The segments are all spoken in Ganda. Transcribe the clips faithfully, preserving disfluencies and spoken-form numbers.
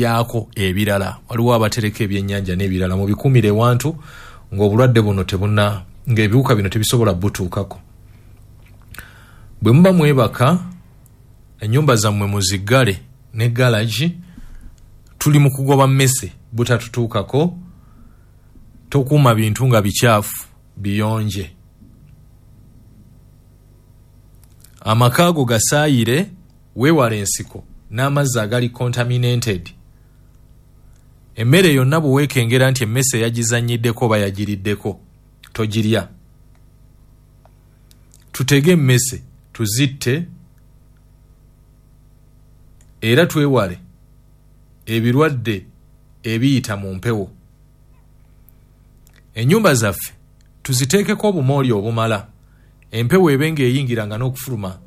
Byako ebirala, waliwo abatereka ebyennyanja n'ebirala, mubikumire ewantu ng'obulwadde buno tebuna, ng'ebiwuka bino tebisobola butuukako. Bwe muba mwebaka, ennyumba zammwe muziggale ne galagi. Tuli mu kugoba mmese butatutuukako. Tokuuma bintu nga bikyafu, biyonje. Amaka go gasaayire, weewale ensiko n'amazzi agali contaminated. Emmere yonna bwe weekengera nti emmese yagizannyiddeko oba yagiriddeko, togirya. Tutege emmese tuzitte, era twewale ebirwadde ebiyita mu mpewo. Ennyumba zaffe tuziteekeko obumooli obumala, empewo ebe ng'eyingiranga n'okufuluma,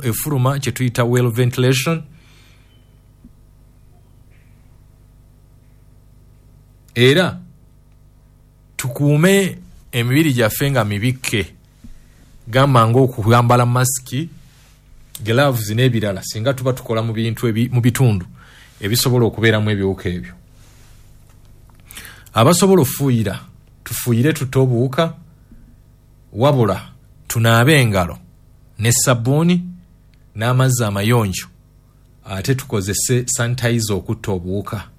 efuluma, kye tuyita well ventilation. Era tukuume emibiri gyaffe nga mibikke, gamba ng'okuyambala masiki, gloves n'ebirala singa tuba tukola mu bintu mu bitundu ebisobola okubeeramu ebiwuka ebyo. Abasobola ofuuyira tufuuyire tutte obuwuka, wabula tunaabe engalo ne sabbuuni n'amazzi amayonjo, ate tukozese sanitizer okutta obuwuka.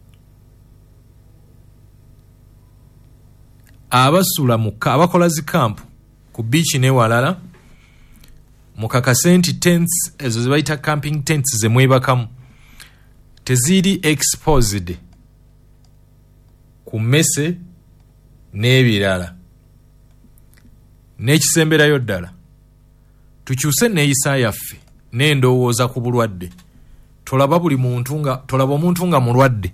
Abasula mu abakola zikampu ku biiki n'ewalala, mukakase nti tents ezo ze bayita camping tents ze mwebakamu teziri exposed ku mmese n'ebirala. N'ekisemberayo ddala, tukyuse neeyisa yaffe n'endowooza ku bulwadde. Tolaba buli muntu nga tolaba omuntu nga mulwadde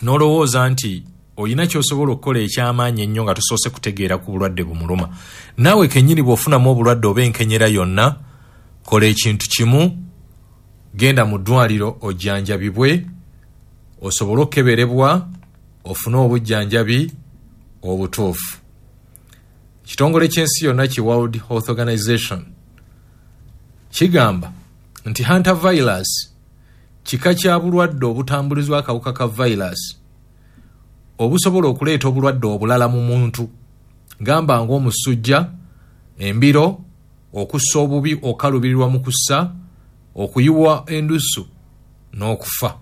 n'olowooza nti oyina ky'osobola okukola ekyamaanyi ennyo nga tosoose kutegeera ku bulwadde bumuluma. Naawe kennyini bw'ofunamu obulwadde oba enkenyera yonna, kola ekintu kimu, genda mu ddwaliro ojjanjabibwe, osobole okukeberebwa ofune obujjanjabi obutuufu. Ekitongole ky'ensi yonna ki World Health Organization kigamba nti hantavirus kika kya bulwadde obutambulizwa akawuka ka virus obusobola okuleeta obulwadde obulala mu muntu, gamba ng'omusujja, embiro, okussa obubi, okalubirirwa mu kussa, okuyiwa endusu n'okufa.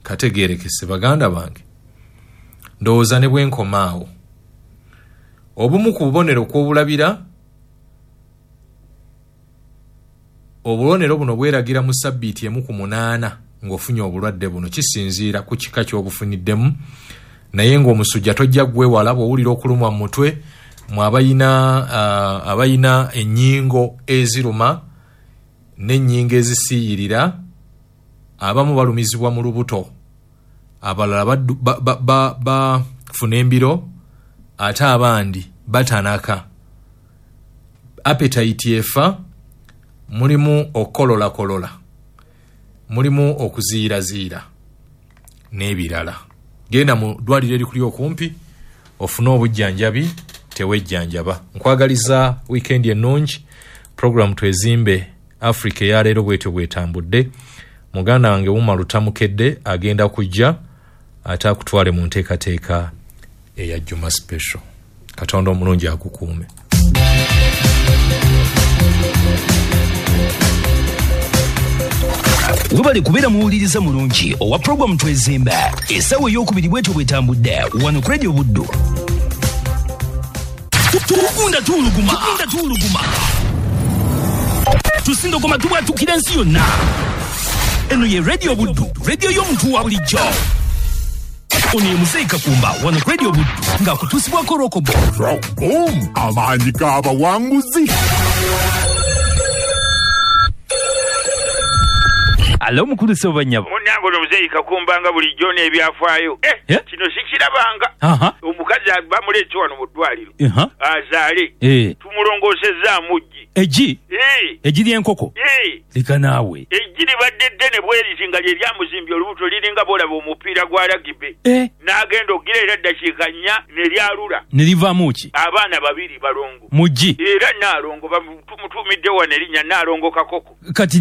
Kategeerekese baganda bange, ndowooza ne bwe awo. Obumu ku bubonero kw'obulabira, obubonero buno bweragira mu sabbiiti emu ku munaana ng'ofunye obulwadde buno, kisinziira ku kika ky'obufuniddemu. Naye ng'omusujja tojja gwewala, bw'owulira okulumwa mu mutwe, mwe abayina uh, abayina ennyingo eziruma n'ennyingo ezisiiyirira, abamu balumizibwa mu lubuto, abalala bafuna ba, ba, ba, embiro, ate abandi batanaka. Appetite efa, mulimu okukololakolola, mulimu okuziiraziira n'ebirala. Genda mu ddwaliro erikuli okumpi ofune obujjanjabi, tewejjanjaba. Nkwagaliza wiikendi ennungi. Program Twezimbe Africa eyaleero bwetyo bwetambudde. Muganda wange Wuma Lutamukedde agenda kujja ate akutwale mu nteekateeka eya Juma Special. Katonda omulungi akukuume. Webale kubeera muwuliriza mulungi owa program Twezimbe. Essaawa ey'okubiri bwetyo bwetambudde wano ku Radio Buddu. Tugunda tuwuluguma, tugunda tuwuluguma, tusindogoma tubwatukira ensi yonna. Eno ye Radio Buddu, radio y'omuntu wa bulijjo. Ono ye Muzeeyi Kakumba wano ku Radio Buddu ng'akutuusibwako Rokobo. Rockboom, amaanyi g'abawanguzi. Alo mukulu Ssobanyabo. Munnange ono Muzeeyi Kakumba nga bulijjo n'ebyafaayo. Eh, kino sikirabanga. Omukazi bamuleese wano mu ddwaliro azaale, tumulongoosezaamu ggi. Eggi? Eggi ly'enkoko? Leka naawe. Eggi libadde ddene bweriti nga lye lyamuzimbye olubuto, liringa bw'olaba omupiira gwa ragibe. N'agenda okugira era ddakiika nnya ne lyalula. Ne livaamu ki? Abaana babiri balongo. Mu ggi? Era Nnaalongo, tumutuumidde wano erinnya Nnaalongo Kakoko. Kati